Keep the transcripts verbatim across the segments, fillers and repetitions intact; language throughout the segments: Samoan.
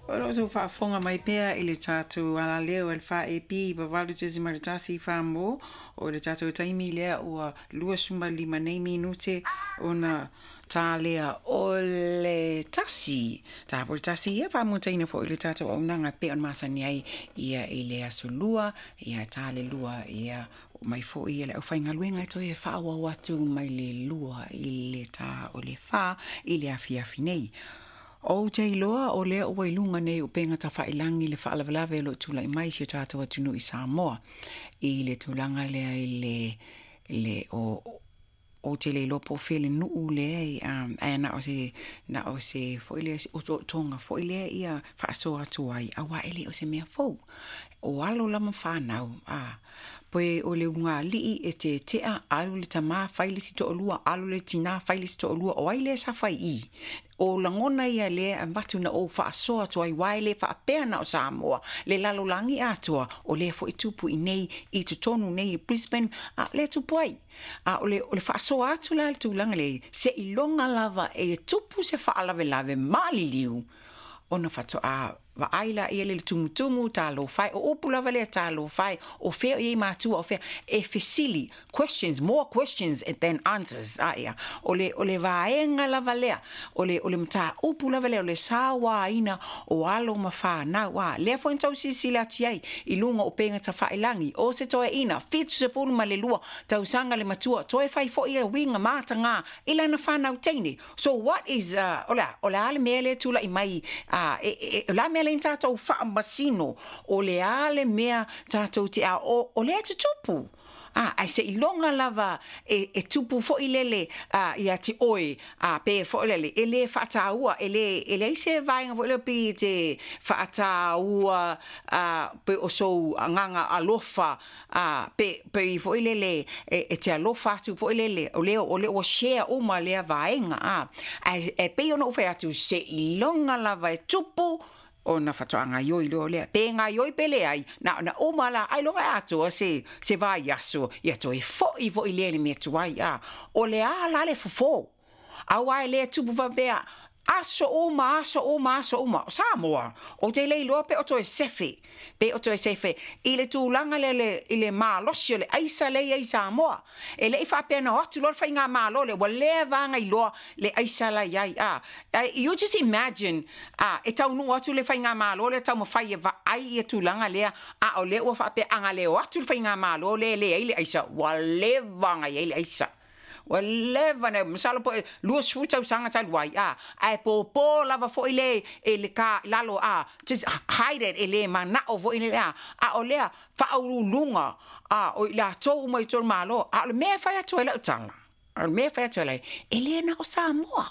O lo o outou faafofoga mai pea i le tatou alaleo e le F A B valu tesima le tasi Samoa. O le tatou taimi lea ua lua lima nei minute ona ta lea o le tasi. Ta po le tasi ia faamutaina foi le tatou auaunaga pei ona masani ai ia i le aso lua ia ta le lua ia mai foi ia le aufaigaluega e toe faaauau atu mai le lua i le ta o le fa i le afiafi nei. Ou te iloa o lea ua i luga nei o upega tafailagi le faalavelave o loo tulai mai si o tatou atunuu i Samoa i le tulaga lea i le le o ou te le iloa po o fea le nuu lea um, ae na o se na o se foi lea otootoga foi lea ia faasoa atu ai auā e le o se mea fou o alo lama fanau a pe o le ulugalii e tetea alu le tamā fai le isi toalua alu le tinā fai le isi toalua o ai lea sa fai i o lagona ia lea avatu na ou faasoa atu ai uae le faapea na o Samoa le lalolagi atoa o lea foi tupu i nei i totonu nei i Brisbane a lea tupu ai a o le o le faasoa atu la le tulaga le seiloga lava e tupu se faalavelave maliliu ona faatoa vaai la ia le tumutumu talofa e o upu lava lea talofa e o fea o iai matua o fea e fesili questions, more questions than answers. A ia o le o le vaega lava lea o le o le mataupu lava lea o le sauaina o alo ma fanau a lea foi na tau silasila atu ai i luga o upega tafailagi o se toeaina fitu sefulu ma le lua tausaga le matua toe fai foi ia uiga mataga i lana fanau teine. So what is uh, o le o le a le mea lea tulai mai uh, e, e, o le a mea lea tatou faamasino o le a le mea tatou te a o, o lea tutupu a ai seiloga lava e, e tupu foi lele a ia te oe a pe foi lele e le faataua e le e leai se vaega foi lea pe te faataua a pe o sou agaga alofa a pe pe foi lele e, e te alofa atu foi lele o lea o lea ua share uma lea vaega a e, e pei ona ou fai atu seiloga lava e tupu ona faatoa gaioi loa lea pe gaioi pe leai na na uma la ailoga e atoa se se vaiaso ia toe fo'i fo'i lea le mea tuai a o le a la le fofō auā e lē tupu faapea aso uma aso uma aso uma o Samoa. Ou te le iloa pe o toe sefe pe o toe sefe i le tulaga lea le i le malosi o le aisa lea i ai Samoa e le'i faapea na o atu loa le faigamālō lea ua leva aga iloa le aisa la iai a. You just imagine a e taunuu atu le faigamālō lea taumafai e vaai ia tulaga lea a o lea ua faapea aga le o atu le faigamālō lea leai le aisa ua leva aga iai le aisa ua leva na masalo po lua sefulu tausaga talu ai a ae pōpō lava foi le e le ka lalo a just hide it e le manao foi le a a o lea faauluuluga a o i latou uma i tolu malo a o le mea e fai atu ai lau tala o le mea e fai atu ai e le na o Samoa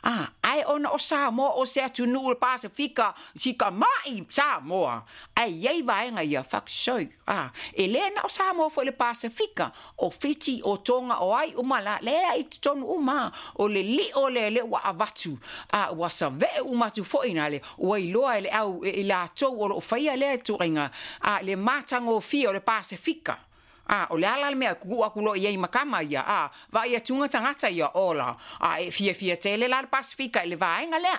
a ae ona o Samoa o se atunuu le Pasefika sikama'i Samoa ae iai vaega ia fakasoi a e lē na o Samoa foi le Pasefika o Fiti o Toga o ai uma la lea i totonu uma o le li'o lea lea ua avatu a ua save'e uma atu foi na le ua iloa e le au e i latou o loo faia lea tuaiga a le matagofie o le Pasefika a o le ala le mea ku'u aku loa i ai ma kama ia a vaai atuga tagata ia ola a e fiafia tele la le Pasefika i le vaega lea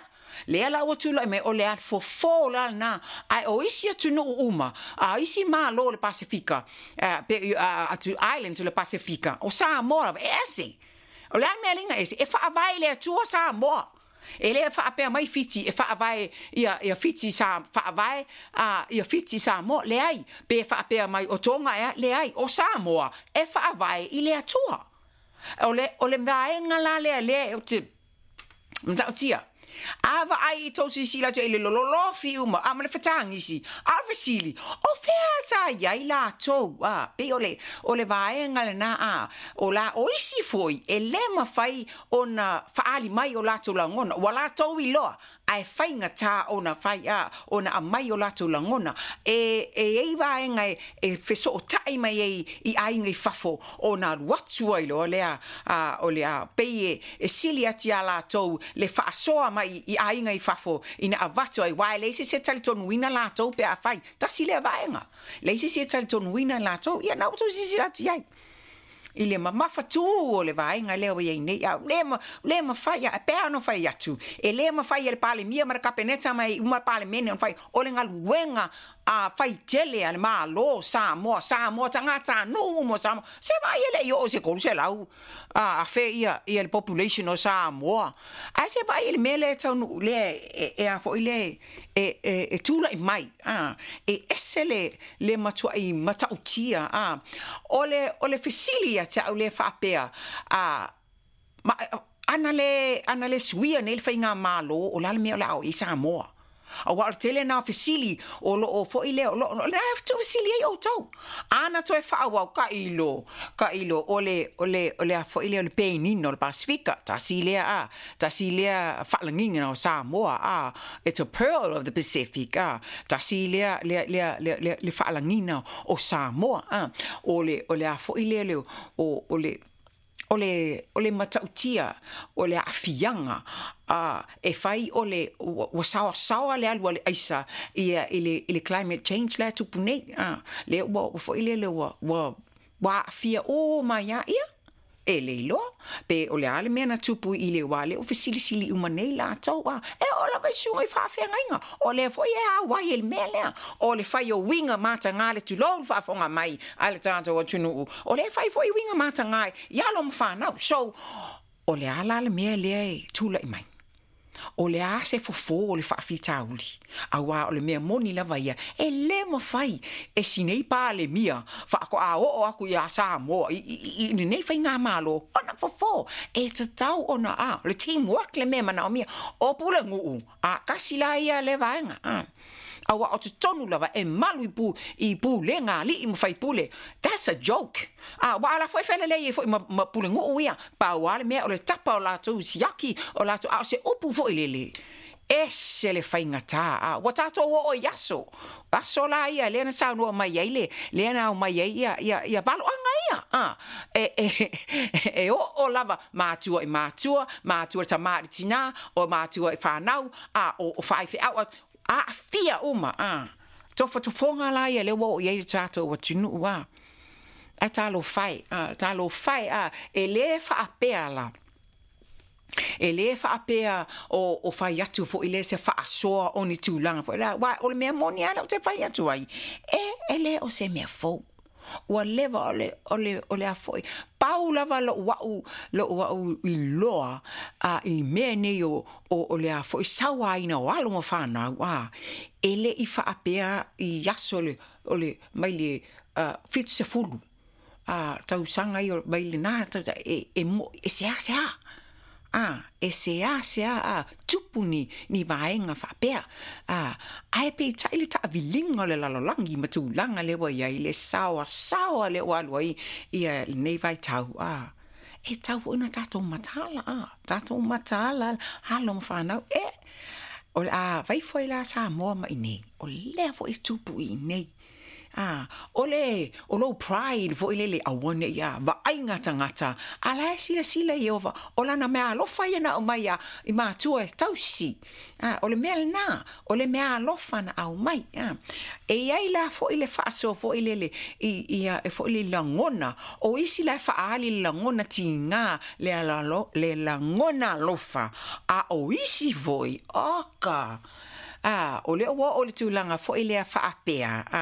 lea la ua tulai mai o le fofō la lena ae o isi atunuu uma a isi mālō o le Pasefika pe atu islands o le Pasefika o Samoa lava e ese o le a le mea liga ese e faavae i le Atua Samoa e lē faapea mai Fiti e faavae ia ia Fiti sa faavae a ia Fiti Samoa leai pe faapea mai o Toga ea leai o Samoa e faavae i le Atua o le o le vaega la lea lea ou te matautia a vaai i tou silasila atu i le lololofi uma a ma le fetagisi a o le fesili o fea sa iai latou a pei o le o le vaega lena a o la o isi foi e lē mafai ona faaali mai o latou lagona ua latou iloa ae faigatā ona fai a ona aumai o latou lagona e e iai vaega e, e fesoota'i mai ai i aiga i fafo ona alu atu ai loa lea a o le a pei e, e sili atu iā latou le faasoa mai i aiga i fafo ina avatu ai uae leai se se talitonuina latou pe a fai tasi lea vaega leai se se talitonuina latou ia na ua tou silasila atu iai. I le mamafatū o le vaega lea ua i ai nei, a le ma, le mafai, a pea ona fai atu, e le mafai e le Palemia ma le Kapeneta ma uma le Palemene ona fai, o le galuega a faitele a le Malo Samoa, Samoa tagatanuu uma o Samoa, se vaai e le i oo i se tolu selau a afe ia, ia le population o Samoa. Ae se vaai i le mea lea e taunuu, lea e, e a foi lea e, e, e tulai mai, a, e ese le, le matuai matautia, a. O le, o le fesili ia te au lea faapea, a, ma, ana le, ana le suia nei le faigamalo, o le a le mea o le a oo i ai Samoa? Aua o le tele lena o fesili o loo foi lea, o loo, o lena e tuufesili ai outou. Ana toe faaauau, tailo, tailo, o le, o le, o le a foi lea o le penina o le Pasefika, tasi lea a, tasi lea faalagiga o Samoa, a, it's a pearl of the Pacific, a, tasi lea, lea, lea, lea, lea, le faalagiga o Samoa, a, o le, o le a foi lea, le, o, o le, o le, o le matautia, o le aafiaga, a, e fai o le, ua, ua saoasaoa le alu a le aisa ia i le, i le climate change la e tupu nei, a, lea ua, ua foi lele ua, ua, ua aafia uma ai lava ia. E le iloa pe o le a le mea na tupu i le wā lea ua fesilisili uma nei latou, a, e oo lava i susuga i faafeagaiga, o lea foi e auai e le mea lea, o le fai o uiga mataga le tulou le faafofoga mai a le tatou atunuu, o lea e fai foi uiga mataga i alo ma fanau. So, o le a la le mea lea e tulai mai? O le a se fofo o le faafitauli? Aua o le mea moni lava ia, e lē mafai e si nei Palemia faatoa oo atu iā Samoa i, i, i lenei faigamalo ona fofo. E tatau ona a, o le teamwork le mea e manaomia. O Pulenuu, a tasi la ia lea vaega, a. Aua o totonu lava e malu i pu, i pulega a alii ma faipule. That's a joke. A, ua ala foi felelei ai foi ma, ma Pulenuu ia. Pau lava le mea o le tapa o latou siaki, o latou, a o se upu foi lele, ese le faigata. A, ua tatou oo i aso, aso la ia lea na saunoa mai ai le, lea na aumai ai ia, ia, ia valoaga ia. A, e, e, e oo lava matua i matua, matua i tama i le tinā, o matua i fanau, a, o, o faifeau, aafia uma, a. Tofotofoga la ia lea ua oo i ai le tatou atunuu, a. Ae talofa e, a, talofa e, a, e lē faapea la. E lē faapea o, o fai atu foi lea se faasoa o ni tulaga foi la, aua o le mea moni lava lea ou te fai atu ai, e, e lē o se mea fou. Ua leva o le, o le, o le a foi. Pau lava lou au, lou au iloa a, i mea nei o, o, o le a foi sauaina o alo ma fanau, a, e le i faapea i aso le, o le, mai le uh, fitu sefulu a, tausaga ia mai lenā tausaga, e, e, mo, e seasea. A, e seasea a tupu ni, ni vaega faapea. A, ae peitai le taaviliga o le lalolagi ma tulaga lea ua i ai, le saoasaoa lea ua alu ai ia lenei vaitau. A, e tatau foi ona tatou mataala, a, tatou mataala alo ma fanau. E, o le a vai foi la Samoa ma iinei, o lea foi e tupu i inei. A, o le, o lou pride foi lele, aua ne i a vaaiga tagata, a la e silasila Ieova, o lana meaalofa ia na aumai ia i matua e tausi. A, o le mea lenā, o le meaalofa na aumai. A, e i ai la foi le faasoa foi lele i, i a, e foi le lagona, o isi la e faaali le lagona tigā, le alalo, le lagona alofa, a o isi foi, oka! A, o lea ua oo i le tulaga foi lea faapea, a,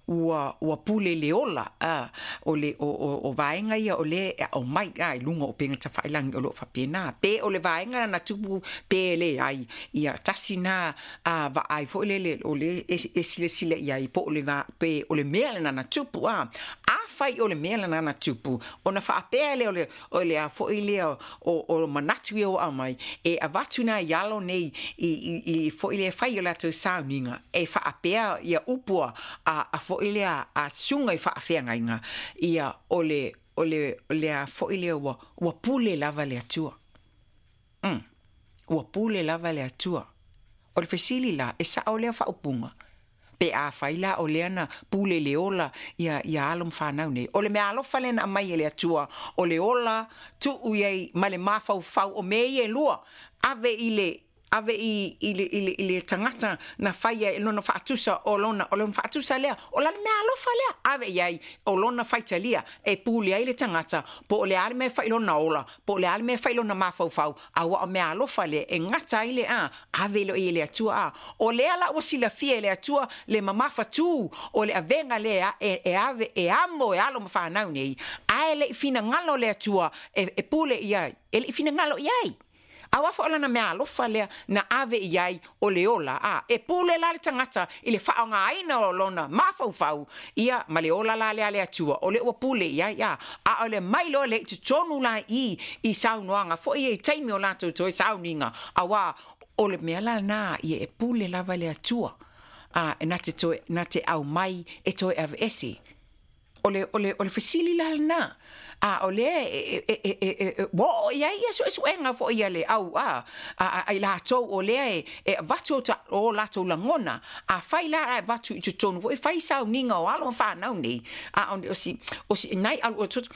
ua, ua pule le ola, a, o le, o, o, o vaega ia o lea e aʻo mai, a, i luga o upega tafailagi o lo o faapena. Pe o le vaega lana tupu pe leai, ia tasi na, a, vaai foi lele o lea e, e silasila i ai po o le va, pe o le mea lena na tupu, a. Afai o le mea lena na tupu, ona faapea lea o le, o le a foi lea o, o manatu ia ua aumai, e avatu nai alo nei i, i, i foi lea fai o latou sauniga, e faapea ia upu a, a foi lea a susuga i faafeagaiga, ia o le, o le, o le a foi lea ua, ua pule lava le Atua. Mm. Ua pule lava le Atua. O le fesili la, e sao lea faaupuga? Pe afai la o lea na pule le ola ia, ia alo ma fanau nei. O le mea alofa lea na aumai e le Atua, o le ola tuu i ai ma le mafaufau o mea ia e lua, ave i le, ave i i le i le i le tagata na faia e lona faatusa o lona o lona faatusa lea o lana mea alofa lea ave i ai o lona faitalia e pule ai le tagata po o le a le mea e fai i lona ola po o le a le mea e fai i lona mafaufau auā o mea alofa lea e gata ai le a ave loa i le Atua a o lea la ua silafia e le Atua le mamafatū o le avega lea e, e ave e amo e alo ma fanau nei ae leʻi finagalo le Atua e, e pule i ai e leʻi finagalo i ai auā foi o lana mea alofa lea na ave i ai o le ola a e pule la le tagata i le faaaogāina o lona mafaufau ia ma le ola la lea le Atua o le ua pule i ai a a o le mai loa le i totonu la i i saunoaga foi i taimi o latou toe sauniga auā o le mea la lenā ia e pule lava le Atua a e na te toe na te aumai e toe aveese o le o le o le fesili la lenā a o lea e e e e e ua oo i ai ia suesuega foi a le au a a a i latou o lea e e avatu o, ta, o latou lagona a fai la a avatu i totonu foi fai sauniga o alo ma fanau nei a o, o si o si nai alu o toto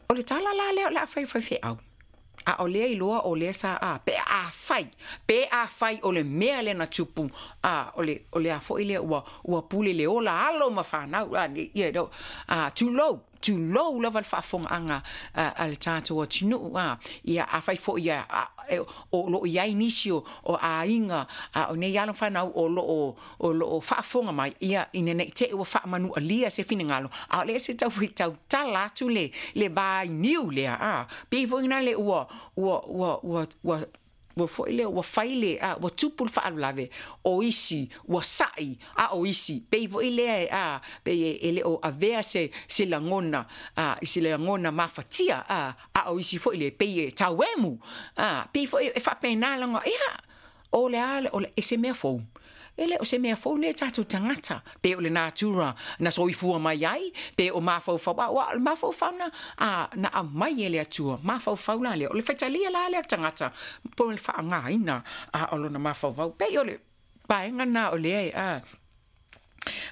o le tala la lea o le a fai fai feau a o lea iloa o lea sa a pe a fai pe a fai o le mea lea na tupu a o le o le a foi lea ua ua pule le ola alo ma fanau a ia no a tulou tulou lava le faafofogaaga a le tatou atunuu a ia afai foi ia o loo i ai nisi o aiga a o nei alo fanau o loo o loo faafofoga mai ia ina nei te i ua faamanualia se finagalo a o le se tau tautala atu le le vainiu lea a pei foi na le ua ua ua ua ua ua foi lea ua fai le a ua tupu le faalavelave o isi ua saʻi a o isi pei foi lea a pei e le o avea se se lagona a i se lagona mafatia a a o isi foi le pei e tauemu a pei foi e faapena laga ia o le a o le e se mea fou e le o se mea fou nei tatou tagata pe o le natura na soifua mai ai pe o mafaufau a ua o le mafaufau na a na aumai e le Atua mafaufau la lea o le faitalia la lea o le tagata po o le faaaogāina a o lona mafaufau pei o le vaega na o lea e a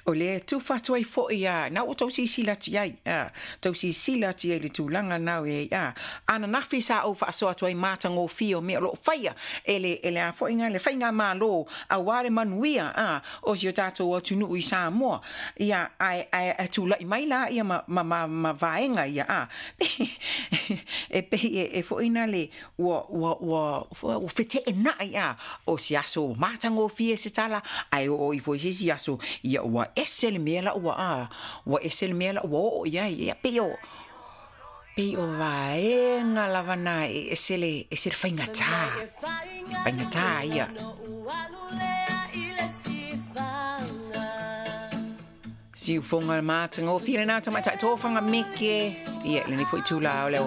o lea tufa atu ai foi a na ua tou silasila atu i ai a tou silasila atu i ai i le tulaga na e ai a ananafi sa ou faasoa atu ai matagofie o mea o loo faia e le e le a foi le faigamālō auā le manuia a o si o tatou atunuu i Samoa ia ae ae tulaʻi mai la ia ma ma ma, ma vaega ia a e pei e, e foi na le ua ua ua ua feteenai a o se aso matagofie se tala ae oo ifo i se isi aso ia ua ese le mea la ua a ua ese le mea la ua oo i ai ia pei o pei o vaega lava na e ese le ese le faigata faigata ia siufoga matagofie lenā tamaitai tofaga meke ia lenei foi itulā o le